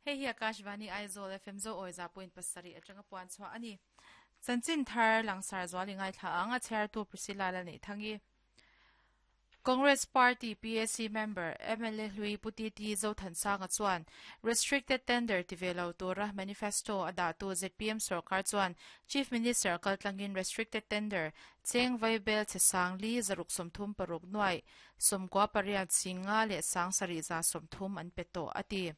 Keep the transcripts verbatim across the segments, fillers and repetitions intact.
Hei hi Akashvani Aizawl F M zo oiza point pasari atanga puan chwa ani. Chanchin thar langsar zwali ngai thla anga chair tu Priscilla la nei thangi. Congress Party P A C member M L A Hlui Puti T Zothansanga chuan restricted tender tivelo tura manifesto ada tu Z P M sarkar chuan Chief Minister kaltlangin restricted tender cheng vaibel chesang li zaruk somthum paruk nuai somkwa pariat singa le sang sari za somthum an peto ati.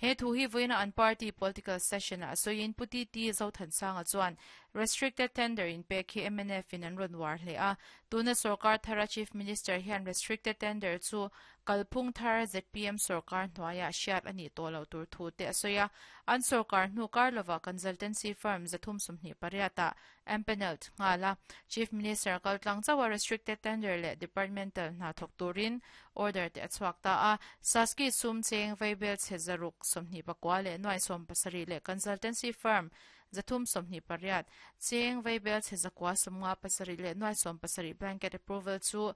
He thu hi voina an party political session a soin Puti T Zothansanga chuan restricted tender in pe khi M N F in an ron war hle a tuna sarkar thara Chief Minister hian restricted tender chu kalphung thar Z P M sarkar hnuaia hriat ani tolo tur thu te asoya an sarkar hnu karlova consultancy firm zathum sumhni pariata empanelled ngala Chief Minister kaltlang chawa restricted tender le departmental na thok turin order te achhuak ta a saski sum cheng vaibel chezaruk somhni pakwa le nuai som pasari le consultancy firm zathum somhni pariat cheng vaibel chezakwa somnga pasari le nuai som pasari blanket approval chu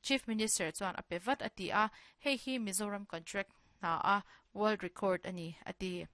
Chief Minister chuan apevat ati a hei hi Mizoram contract na a world record ani ati.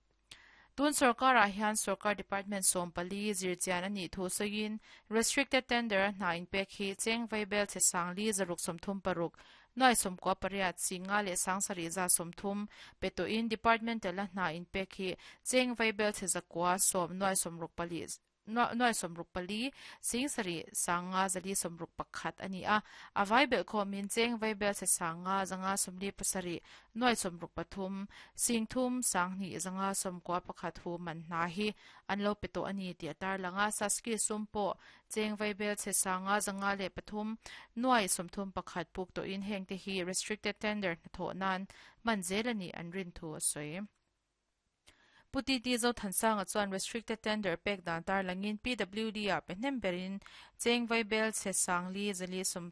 Tun sarkar a hian sarkar department som pali zirchian ani thu soin restricted tender na in pek hi cheng vaibel chesang li zaruk somthum paruk noi somkwa pariat singa le sangsari za somthum peto in department la na in pek hi cheng vaibel chezakwa som noi somruk pali noi somruk pali singsari sanga zali somruk pakhat ani a avai bel kho min cheng vaibel se sanga zanga somli pasari noi somruk pathum singthum sangni zanga somkwa pakhat hu man na hi anlo peto ani ti atar langa saski sumpo cheng vaibel se sanga zanga le pathum noi somthum pakhat puk to in heng te hi restricted tender na tho nan manzelani an rin thu soi. Puti T Zothansanga chuan restricted tender pek dan tar langin P W D a pehnem berin cheng vaibel che sangli zali som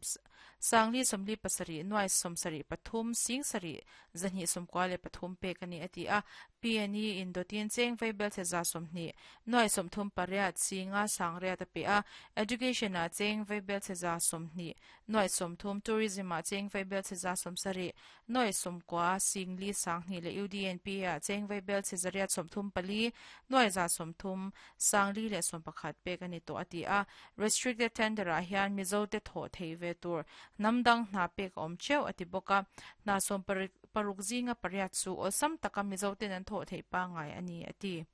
sangli somli pasari nuai somsari pathum singsari zani somkwa le pathum pek ani ati a P N E in dotin cheng vaibel che za somni nuai somthum pariat singa sangria ta pe a education a cheng vaibel che za somni nuai somthum tourism a cheng vaibel che za somsari nuai somkwa singli sangni le U D N P a cheng vaibel che zaria som thum pali noi za somthum sangli le som pakhat pek ani to ati a restricted tender a hian Mizo te tho thei ve tur namdang hna pek awm cheu ati boka na som paruk zinga pariat chu awlsam taka Mizo ten an tho thei pa ngai ani ati.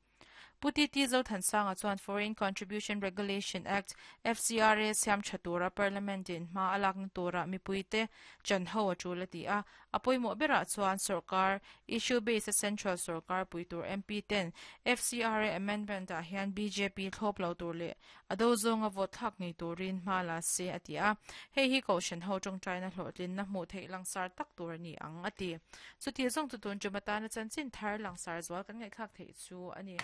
Puti T Zothansanga chuan Foreign Contribution Regulation Act F C R A siam thatura Parliament in ma alak na tura mipuite chanho atul ati a apoimo bera chuan sarkar issue based central sarkar puitur M P ten F C R A amendment a hian B J P thlop lo tur le ado zonga vote thak ngei turin ma la se ati a hei hi ko shan ho tong china hlotlin na hmu thei langsar tak tur ani ang ati. Chuti zong tu tun chumata na chanchin thar langsar zwal kan ngai khak thei chu ani.